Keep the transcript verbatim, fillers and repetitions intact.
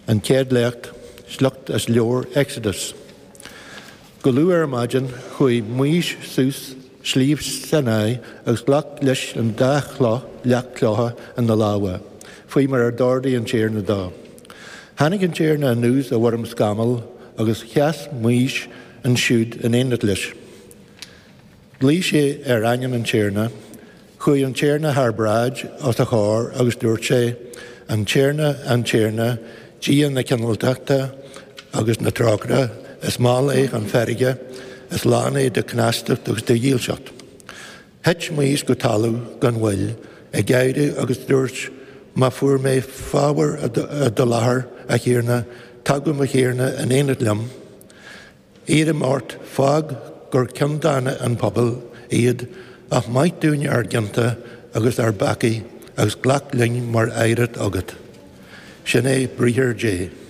An chéad léacht, sliocht as leabhar Exodus. Go luath ar maidin chuaigh Maois suas Sliabh Sinai agus ghlac leis an dá chloch leacht cloiche ina lámha, faoi mar a d'ordaigh an Tiarna dó. Tháinig an Tiarna anuas i bhfoirm scamaill agus sheas Maois ansiúd in éineacht leis. Ghlaoigh sé ar ainm an Tiarna, chuaigh an Tiarna thar bráid os a chomhair agus dúirt sé, An Tiarna, an Tiarna, Dia na cineáltachta agus na trócaire, is mall é chun feirge, is lán é de chneastacht agus de dhílseacht. Thit Maois go talamh gan mhoill, ag adhradh agus dúirt, Má fuair mé fabhar i do láthair, a Thiarna, tagadh mo Thiarna in éineacht liom. Iarraim ort, fág gur ciondána an pobal iad, ach maith dúinn ár gcionta agus ár bpeacaí agus glac linn mar oidhreacht agat. Sin é briathar Dé.